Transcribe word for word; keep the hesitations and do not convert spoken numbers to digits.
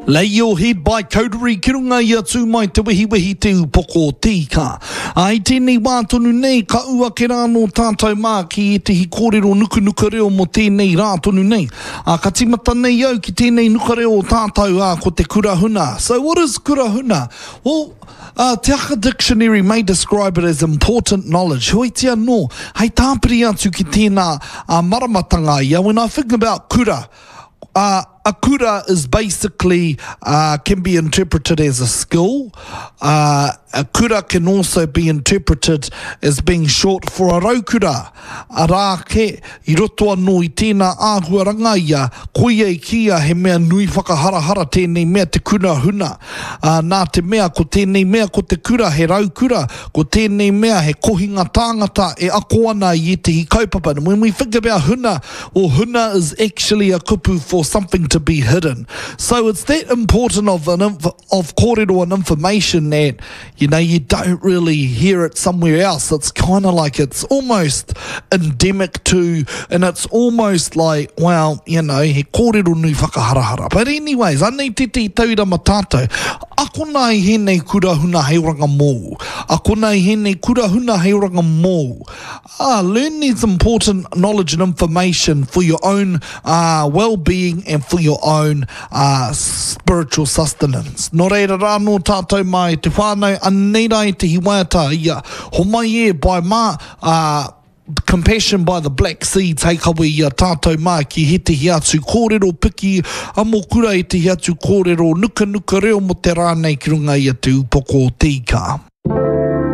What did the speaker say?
Lay Your Head by Coterie ki runga i a Tū Mai Te Wehiwehi Te Upoko o Te Ika. Ā, i tēnei wā tonu nei, ka ū ake rā anō tātou mā ki ētehi kōrero nukunuka reo mō tēnei rā tonu nei. Ā, ka tīmata nei au ki tēnei nuka reo o tātou, ā, ko te kura huna. So what is kura huna? Well, uh, Te Aka Dictionary may describe it as important knowledge. Heoiti anō, hei tāpiri atu ki tēnā uh, maramatanga ia, when I think about kura, uh, a kura is basically uh, can be interpreted as a skill. Uh, a kura can also be interpreted as being short for a raukura. Arā ke, i roto anō i tēnā āhuaranga ia, koia i kīia he mea nui whakaharahara tēnei mea te kura huna. Uh, nā te mea ko tēnei mea ko te kura he raukura, ko tēnei mea he kohinga tāngata e ako ana i ētehi kaupapa. And when we think about huna, well, huna is actually a kupu for something to be hidden. So it's that important of an inf- of kōrero and information that, you know, you don't really hear it somewhere else. It's kind of like it's almost endemic to, and it's almost like, well, you know, he kōrero nui whakaharahara. But anyways, anei tētehi tauira ma tātou. Akona i hēnei kura huna hei oranga mōu. Akona i hēnei kura huna hei oranga mōu. Ah, learn these important knowledge and information for your own uh, well-being and for your own uh, spiritual sustenance. Nō reira rā nō tātou mai te whānau, anei rā ētehi waiata ia. Homai e by mā, uh, Compassion by the Black Seeds hei kawe i a tātou mā ki hētehi atu kōrero piki a mō kura ētehi atu kōrero nukanuka reo mō te rā nei ki runga i a Te Upoko o Te Ika.